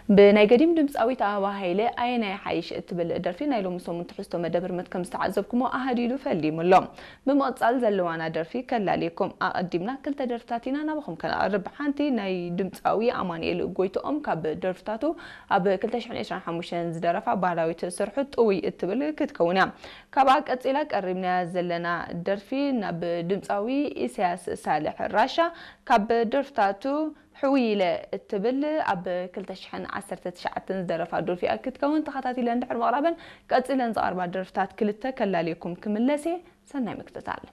ብናይ ገዲም ድምፃዊት ኣበባ ሃይለ ኣየናይ ሓይሽ እትብል ደርፊ ናይ ሎሚ ሰሙን ትሕዝቶ መደብ ህርመት ከም ዝተዓዘብኩሞ ኣሃዲዱ ፈሊሙ ኣሎ። ብምቕፃል ዘለዋና ደርፊ ከላልየኩም። ኣቐዲምና ክልተ ደርፍታት ኢና ናባኹም ከነቕርብ። ሓንቲ ናይ ድምፃዊ ኣማኑኤል ጎይትኦም ካብ ደርፍታቱ ኣብ ክልተ ሽሕን ዕስራን ሓሙሽተን ዝደረፋ ባህላዊት ስርሑ ጥውይ እትብል ክትከውን እያ። ካብኣ ቀፂላ ቀሪብናያ ዘለና ደርፊ ናብ ድምፃዊ ኢሳያስ ሳልሕ ራሻ ካብ ደርፍታቱ ሕውይለ እትብል ኣብ ክልተ ሽሕን ዓሰርተ ትሽዓተን ዝደረፋ ደርፊ እያ ክትከውን። ተኸታቲለን ድሕሪ ምቕራበን ቀፂለን ዝቐርባ ደርፍታት ክልተ ከላልየኩም ክምለስ እየ። ሰናይ ምክትታል።